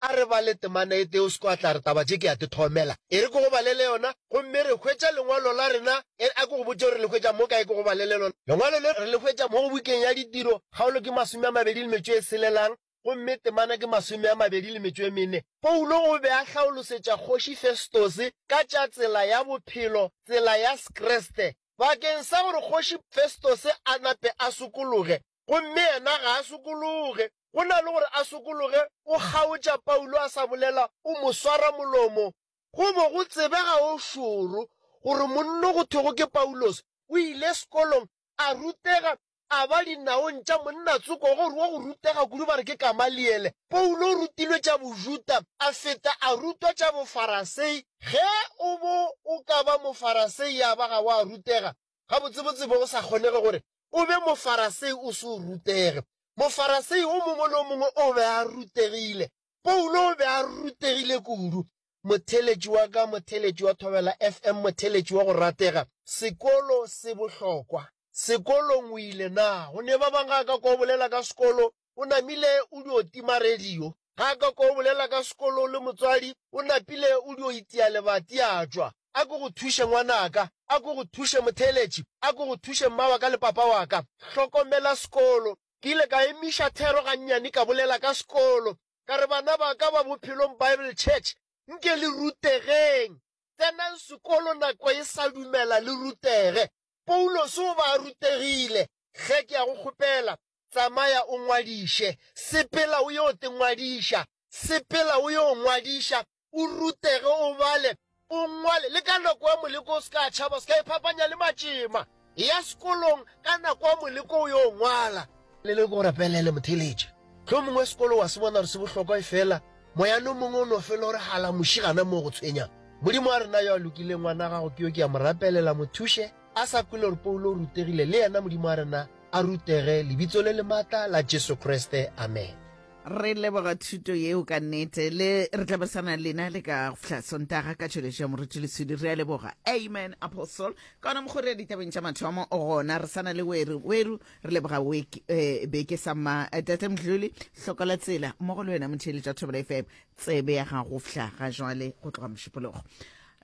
A re bale temana e tee o se ke wa tla re taba tše ke a te thomela. E re ke go balele yona, gomme re hwetša lengwalo la rena. E re a ke go botše gore re le hwetša mo kae, ke go balele lona. Lengwalo le re le hwetša mo go bukeng ya Ditiro, kgaolo ke 25 e selelang, gomme temana ke 24. Paulo o be a hlaolosetša Kgoši Festose ka tša tsela ya bophelo, tsela ya Sekriste, bakeng sa gore Kgoši Festose a nape a sokologe, gomme yena ga a sokologe. Go na le gore a sokologe, o kgaotša Paulo a sa bolela, o mo swara molomo. Go bo go tsebega o šoro gore monno go thwego ke Paulos o ile sekolong, a rutega, a ba dinaong tša monna tsoko gore wa go rutega kudu ba re ke Gamaliele. Paulo o rutilwe tša Bojuda, a feta a rutwa tša Bofarasei. Ge o bo o ka ba Mofarasei ya ba ga wa rutega, gabotsebotse bo go sa kgonege gore o be Mofarasei o se o rutege. Mofarasei o mongwe le o mongwe o be a rutegile. Paulo o be a rutegile kudu. Motheeletši wa ka, motheeletši wa Thobela FM, motheeletši wa go ratega, sekolo se bohlokwa. Sekolong o ile na? Go ne ba bang ga a ka kwa o bolela ka sekolo, o namile o dio tima radio. Ga a ka kwa o bolela ka sekolo o le motswadi, o napile o dio itia lebati a tšwa. A ke go thuše ngwanaka, a ke go thuše motheeletši, a ke go thuše mma wa ka le papa wa ka. Hlokomela sekolo. Ke ile ka emiša thero gannyane ka bolela ka sekolo. Ka re, Bana ba ka ba Bophelong Bible Church, nke le rutegeng. Tsenang sekolo nako e sa dumela le rutege. Paulose o ba a rutegile. Hle ke a go kgopela, tsamaya o ngwadiše. Sepela o yo te ngwadiša. Sepela o yo ngwadiša, o rutege, o bale, o ngwale. Le ka nako ya moleko o se ka tšhaba, o se ka iphapanya le matšema. Eya sekolong ka nako ya moleko o yo ngwala. Le le ke go rapelele, motheeletši. Hlomongwe sekolo wa se bona gore se bohlokwa, efela moyana o mongwe o no fela o re hala muši gana moo go tshwenyang. Modimo wa rena yo a lokileng, ngwana gago ke yo ke a mo rapelela, mo thuše a sa kwele gore Paulo o rutegile, le yena Modimo wa rena a rutege, Lebitso le le maatla la Jesu Kriste. Amen. Re leboga thuto yeo ka nnete. Le re tla besana lena le ka go fihla Sontaga ka tšweletšo ya Moruti Leswidi. Re a leboga. Amen, Apostle. Ka gona mokgori ya ditabeng tša mathomo o gona. Re sana le Weru. Weru, re leboga weke, eh, beke sa mma. Eh, Tate Mdluli, hloka la tsela mmogo le wena motheeletši wa Thobela FM. Tsebe ya gago fihla ga jwale go tloga Mošupologo.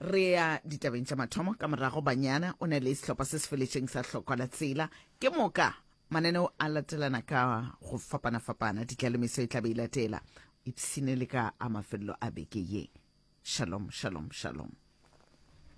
Re ya ditabeng tša mathomo ka morago Banyana o na le sehlopha se se feletšeng sa hloka la tsela. Ke moka Mananeo a latelana ka go fapana-fapana, ditlalemeso e tla be e latela. Ipshine le ka a mafelelo a beke ye. Shalom, shalom, shalom.